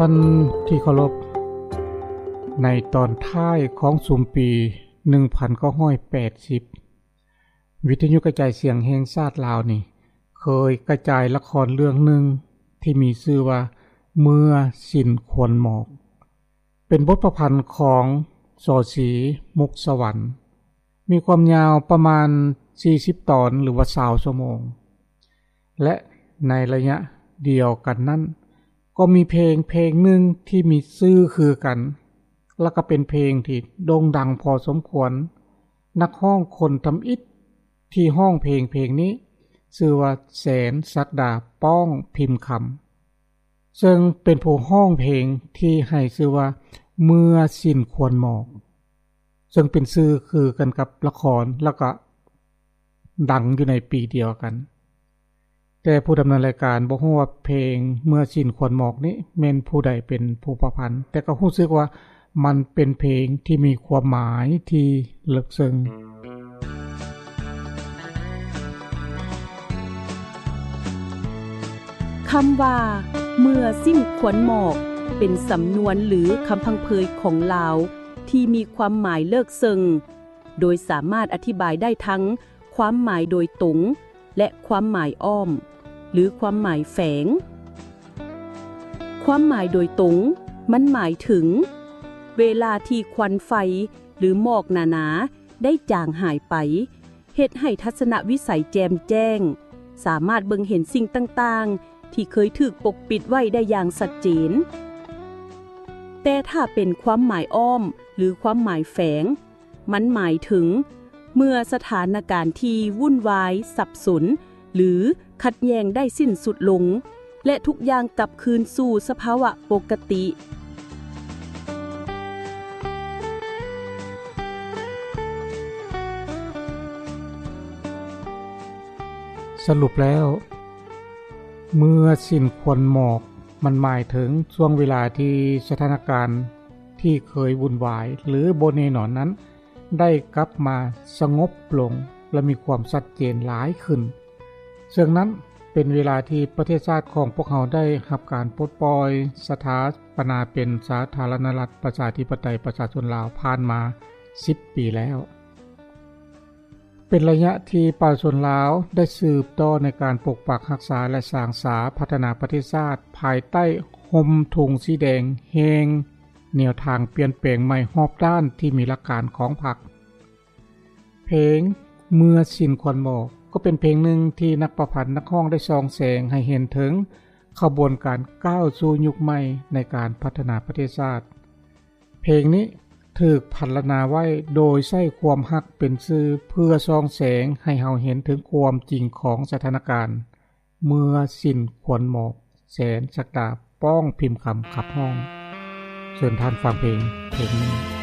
ທ່ານທີ່ເຄົາລົບ, ໃນຕອນທ້າຍຂອງຊຸມປີໜຶ່ງພັນເກົ້າຮ້ອຍແປດສິບ ວິທະຍຸກະຈາຍສຽງແຫ່ງຊາດລາວນີ້ ເຄີຍກະຈາຍລະຄອນເລື່ອງໜຶ່ງທີ່ມີຊື່ວ່າ ເມື່ອສິ້ນຄວັນໝອກ ເປັນບົດປະພັນຂອງ ສ.ສີ ມຸກສະຫວັນ ມີຄວາມຍາວປະມານສີ່ສິບຕອນ ຫຼືວ່າຊາວຊົ່ວໂມງ ແລະ ໃນໄລຍະດຽວກັນນັ້ນ ກໍມີເພງເພງໜຶ່ງທີ່ມີຊື່ຄືກັນ ແລະ ກໍເປັນເພງທີ່ໂດ່ງດັງພໍສົມຄວນ. ນັກຮ້ອງຄົນທຳອິດທີ່ຮ້ອງເພງເພງນີ້ ຊື່ວ່າ ແສນ ສັກດາ ປ້ອງພິມຄຳ ເຊິ່ງເປັນຜູ້ຮ້ອງເພງທີ່ໃຫ້ຊື່ວ່າ ເມື່ອສິ້ນຄວັນໝອກ ເຊິ່ງເປັນຊື່ຄືກັນກັບລະຄອນ ແລ້ວກໍດັງຢູ່ໃນປີດຽວກັນ. ແຕ່ຜູ້ດຳເນີນລາຍການບໍ່ຮູ້ວ່າເພງເມື່ອສິ້ນຄວັນໝອກນີ້ແມ່ນຜູ້ໃດເປັນຜູ້ປະພັນ, ແຕ່ກໍຮູ້ສຶກວ່າມັນເປັນເພງທີ່ມີຄວາມໝາຍທີ່ເລິກເຊິ່ງ. ຄຳວ່າ ເມື່ອສິ້ນຄວັນໝອກ ເປັນສຳນວນ ຫຼື ຄຳພັງເພີຍຂອງລາວ ທີ່ມີຄວາມໝາຍເລິກເຊິ່ງ, ໂດຍສາມາດອະທິບາຍໄດ້ທັງຄວາມໝາຍໂດຍຕົງ ແລະ ຄວາມໝາຍອ້ອມ ຫຼື ຄວາມໝາຍແຝງ. ຄວາມໝາຍໂດຍຕົງ ມັນໝາຍເຖິງ ເວລາທີ່ຄວັນໄຟ ຫຼື ໝອກໜາໆ ໄດ້ຈາງຫາຍໄປ, ເຮັດໃຫ້ທັດສະນະວິໄສແຈ່ມແຈ້ງ, ສາມາດເບິ່ງເຫັນສິ່ງຕ່າງໆ ທີ່ເຄີຍຖືກປົກປິດໄວ້ໄດ້ຢ່າງຊັດເຈນ. ແຕ່ຖ້າເປັນຄວາມໝາຍອ້ອມ ຫຼື ຄວາມໝາຍແຝງ, ມັນໝາຍເຖິງ ເມື່ອສະຖານະການທີ່ວຸ່ນວາຍ, ສັບສົນ ຫຼື ຂັດແຍ່ງໄດ້ສິ້ນສຸດລົງ ແລະ ທຸກຢ່າງກັບຄືນສູ່ສະພາວະປົກກະຕິ. ສະຫຼຸບແລ້ວ, ເມື່ອສິ້ນຄວັນໝອກ ມັນໝາຍເຖິງຊ່ວງເວລາທີ່ສະຖານະການທີ່ເຄີຍວຸ່ນວາຍ ຫຼື ບໍ່ແນ່ນອນນັ້ນ ໄດ້ກັບມາສະຫງົບລົງ ແລະ ມີຄວາມຊັດເຈນຫຼາຍຂຶ້ນ. ເຊິ່ງນັ້ນເປັນເວລາທີ່ປະເທດຊາດຂອງພວກເຮົາໄດ້ຮັບການປົດປ່ອຍສະຖາປະນາເປັນສາທາລະນະລັດ ປະຊາທິປະໄຕ ປະຊາຊົນລາວ ຜ່ານມາສິບປີແລ້ວ. ເປັນໄລຍະທີ່ປະຊາຊົນລາວໄດ້ສືບຕໍ່ໃນການປົກປັກຮັກສາ ແລະ ສ້າງສາພັດທະນາປະເທດຊາດ ພາຍໃຕ້ຮົ່ມທຸງສີແດງແຫ່ງແນວທາງປ່ຽນແປງໃໝ່ຮອບດ້ານທີ່ມີຫຼັກການຂອງພັກ. ເພງເມື່ອສິ້ນຄວັນໝອກ ກໍເປັນເພງໜຶ່ງທີ່ນັກປະພັນນັກຮ້ອງໄດ້ສ່ອງແສງໃຫ້ເຫັນເຖິງຂະບວນການກ້າວສູ່ຍຸກໃໝ່ໃນການພັດທະນາປະເທດຊາດ. ເພງນີ້ຖືກພັນລະນາໄວ້ໂດຍໃຊ້ຄວາມຮັກເປັນສື່ ເພື່ອສ່ອງແສງໃຫ້ເຮົາເຫັນເຖິງຄວາມຈິງຂອງສະຖານະການ ເມື່ອສິ້ນຄວັນໝອກ ແສນສັກດາ ປ້ອງພິມຄຳ ຂັບຮ້ອງ. ເຊີນທ່ານຟັງເພງ ເພງນີ້.